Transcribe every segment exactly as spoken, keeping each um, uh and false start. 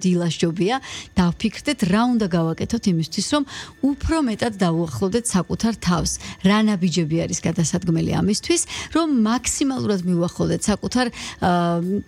დილაშჯობია დავფიქრდეთ რა უნდა გავაკეთოთ იმისთვის რომ უფრო მეტად დავუახლოვდეთ საკუთარ თავს რა ნაბიჯები არის გადასადგმელი ამისთვის რომ მაქსიმალურად მივუახლოვდეთ საკუთარ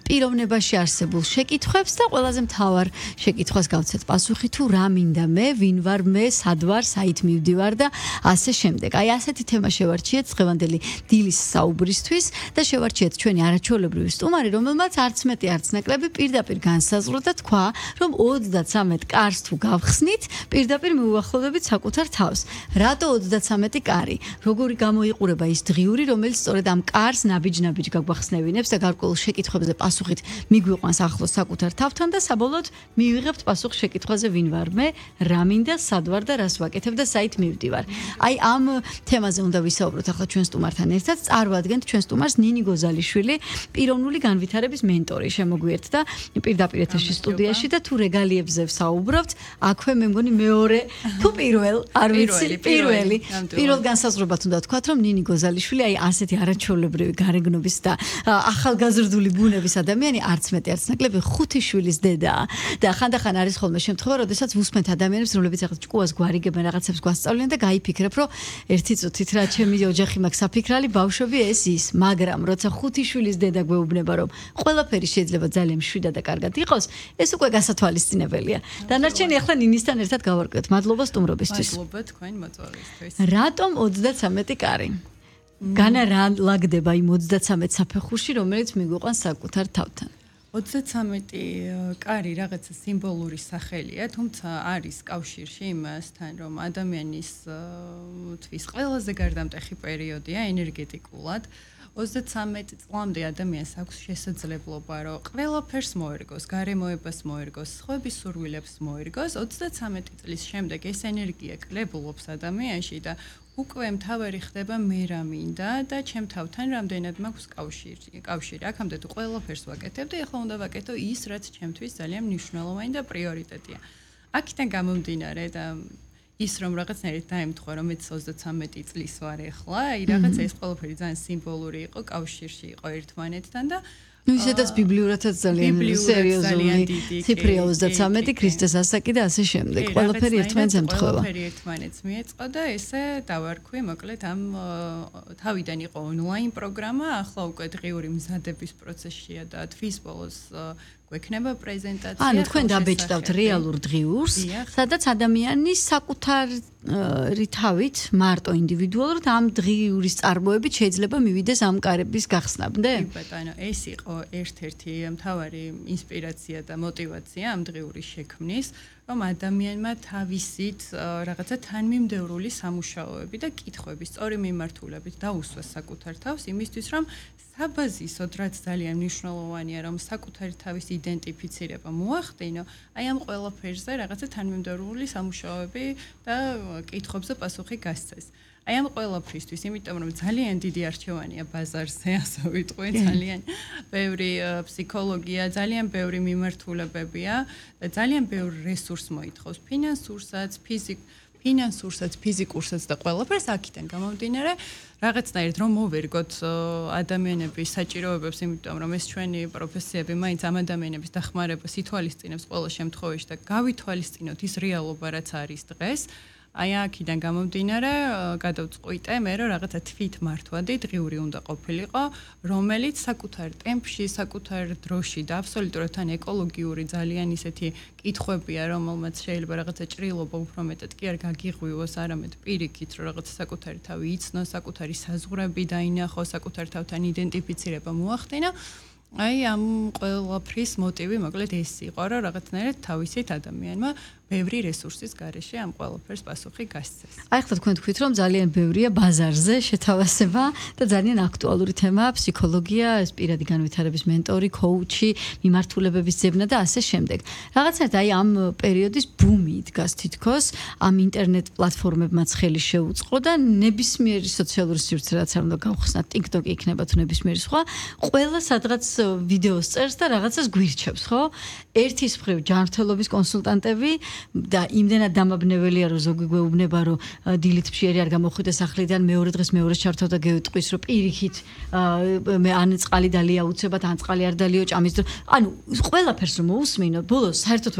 პიროვნებაში არსებულ შეკითხვებს და ყველაზე მთავარ შეკითხვას გავცეთ პასუხი თუ რა მინდა მე ვინ ვარ მე სად ვარ საით მივდივარ და ასე შემდეგ აი ასეთი თემა შევარჩიეთ დღევანდელი დილის საუბრისთვის და შევარჩიეთ ჩვენი არაჩვეულებრივი სტუმარი რომელმაც არც მეტი არც ნაკლები პირდაპირ განსაზღვრა და თქვა რომ ოცდათრამეტ კარს თუ გავხსნით, პირდაპირ მივუახლოვდებით საკუთარ თავს. რატო ოცდათრამეტი კარი? როგორი გამოიყურება ის დღიური, რომელიც სწორედ ამ კარს ნაბიჯ-ნაბიჯ გაგვახსნევინებს და გარკვეულ შეკითხვებზე პასუხით მიგვიყვანს ახლოს საკუთარ თავთან და საბოლოოდ მივიღებთ პასუხ შეკითხვაზე ვინ ვარ მე, რა მინდა, სად ვარ და რას ვაკეთებ და საით მივდივარ. აი ამ თემაზე უნდა ვისაუბროთ ახლა ჩვენ სტუმართან ერთად. წარვადგენთ ჩვენ სტუმარს ნინი გოზალიშვილი, პიროვნული განვითარების მენტორი შემოგვიერთდა პირდაპირ ეთერში სტუდიაში და თუ რეგალიებზე ვსაუბრობთ, აქვე მე მგონი მეორე თუ პირველ, არ ვიცი, პირველი. პირველ განსაზღვრებად უნდა თქვათ, რომ ნინი გოზალიშვილი აი ასეთი არაჩვეულებრივი გარეგნობის და ახალგაზრდული ბუნების ადამიანი არც მეტი არც ნაკლები ხუთი შვილის დედაა. და ხანდახან არის ხოლმე შემთხვევა, როდესაც ვუსმენთ ადამიანებს, რომლებიც ახლა ჭკუას გვარიგებენ, რაღაცებს გვასწავლიან და გაიფიქრებ, რომ ერთი წუთით რა ჩემი ოჯახი მაქვს საფიქრალი, ბავშვები ეს ის, მაგრამ როცა ხუთი შვილის დედა გვეუბნება, რომ ყველაფერი შეიძლება ძალიან მშვიდად და კარგად იყოს, ეს უკვე გასათვალისწინებელია. დანარჩენი ახლა ნინისთან ერთად გავარკვიოთ. მადლობა სტუმრობისთვის. მადლობა თქვენ მოწვევისთვის. რატომ ოცდათრამეტი კარი? განა რა ლაგდება იმ ოცდათრამეტ საფეხურში, რომელიც მიგვიყვანს საკუთარ თავთან? ოცდათრამეტი კარი რაღაცა სიმბოლური სახელია, თუმცა არის კავშირში იმასთან, რომ ადამიანის თვის ყველაზე გარდამტეხი პერიოდია ენერგეტიკულად. ოცდათრამეტ წლამდე ადამიანს აქვს შესაძლებლობა, რომ ყველაფერს მოერგოს, გარემოებას მოერგოს, სხვების სურვილებს მოერგოს. ოცდათრამეტი წლის შემდეგ ეს ენერგია კლებულობს ადამიანში და უკვე მთავარი ხდება მე რა მინდა და ჩემ თავთან რამდენად მაქვს კავშირი. კავშირი. აქამდე თუ ყველაფერს ვაკეთებ და ახლა უნდა ვაკეთო ის, რაც ჩემთვის ძალიან მნიშვნელოვანი და პრიორიტეტია. აქედან გამომდინარე და ის რომ რაღაცნაირად დაემთხვა რომ მეც ოცდათრამეტი წლის ვარ ახლა, აი რაღაცა ეს ყველაფერი ძალიან სიმბოლური იყო, კავშირში იყო ერთმანეთთან და ну ისედაც ბიბლიურადაც ძალიან სერიოზული ციფრია ოცდათრამეტი ქრისტეს ასაკი და ასე შემდეგ. ყველაფერი ერთმანეთს ემთხვევა. ყველაფერი ერთმანეთს მიეწყო და ესე დავარქვი, მოკლედ ამ თავიდან იყო ონლაინ პროგრამა, ახლა უკვე დღიური მზადების პროცესშია და თვის ბოლოს გვექნება პრეზენტაცია. ანუ თქვენ დაბეჭდავთ რეალურ დღიურს, სადაც ადამიანი საკუთარი თავით მარტო ინდივიდუალურად ამ დღიურის წარმოებით შეიძლება მივიდეს ამ კარების გახსნამდე? კი ბატონო, ეს იყო ერთ-ერთი მთავარი ინსპირაცია და мотиваცია ამ დღიურის შექმნის, რომ ადამიანმა თავისით რაღაცა თანმიმდევრული სამუშაოები და კითხვები სწორი მიმართულებით დაუსვას საკუთარ თავს იმისთვის, რომ საბაზისოდ რაც ძალიან მნიშვნელოვანია, რომ საკუთარი თავის იდენტიფიცირება მოახდინო, აი ამ ყველაფერზე რაღაცა თანმიმდევრული სამუშაოები და კითხვებზე პასუხი გასცეს. აი ამ ყველაფრისთვის, იმიტომ რომ ძალიან დიდი არჩევანია ბაზარზე, ასე ვიტყვი, ძალიან ბევრი ფსიქოლოგია, ძალიან ბევრი მიმართულებებია და ძალიან ბევრი რესურს მოითხოვს, ფინანსურსაც, ფიზიკ ფინანსურსაც, ფიზიკურსაც და ყველაფერს აქედან გამომდინარე, რაღაცნაირად რომ მოვერგოთ ადამიანების საჭიროებებს, იმიტომ რომ ეს ჩვენი პროფესიები მაინც ამ ადამიანების დახმარებას ითვალისწინებს ყველა შემთხვევაში და გავითვალისწინოთ ის რეალობა, რაც არის დღეს. აი აქედან გამომდინარე, გადავწყვიტე მე რომ რაღაცა თვით მართვადი დღიური უნდა ყოფილიყო, რომელიც საკუთარ ტემპში, საკუთარ დროში და აბსოლუტურად თან ეკოლოგიური ძალიან ისეთი კითხვებია, რომელმაც შეიძლება რაღაცა ჭრილობა უფრო მეტად კი არ გაგიღვივოს, არამედ პირიქით, რომ რაღაცა საკუთარი თავი იცნო, საკუთარი საზღვრები დაინახო, საკუთარ თავთან იდენტიფიცირება მოახდინო. აი ამ ყველაფრის მოტივი მოკლედ ეს იყო, რომ რაღაცნაირად თავისით ადამიანმა ბევრი რესურსის გარეშე ამ ყველაფერს პასუხი გასცეს. აი ხლა თქვენ თქვით, რომ ძალიან ბევრია ბაზარზე შეთავაზება და ძალიან აქტუალური თემაა ფსიქოლოგია, ეს პირადი განვითარების მენტორი, კოუჩი, მიმართულებების ძებნა და ასე შემდეგ. რაღაცნაირად აი ამ პერიოდის ბუმი დგას თითქოს, ამ ინტერნეტ პლატფორმებმაც ხელი შეუწყო და ნებისმიერი სოციალური სივრცე რაც არ უნდა გავხსნათ, TikTok იქნება თუ ნებისმიერი სხვა, ყველა სადღაც ვიდეოს წერს და რაღაცას გვირჩევს, ხო? ერთის მხრივ ჯანმრთელობის კონსულტანტები და იმდენად დამაბნეველია რომ ზოგი გვეუბნება რომ დილით ფშიერი არ გამოხვიდეს სახლიდან მეორე დღეს მეორე ჩართავ და გეუტყვის რომ პირიქით მე ან წყალი დალია უცებად ან წყალი არ დალიო ჭამის ანუ ყველაფერს რომ მოусმინო ბოლოს საერთოდ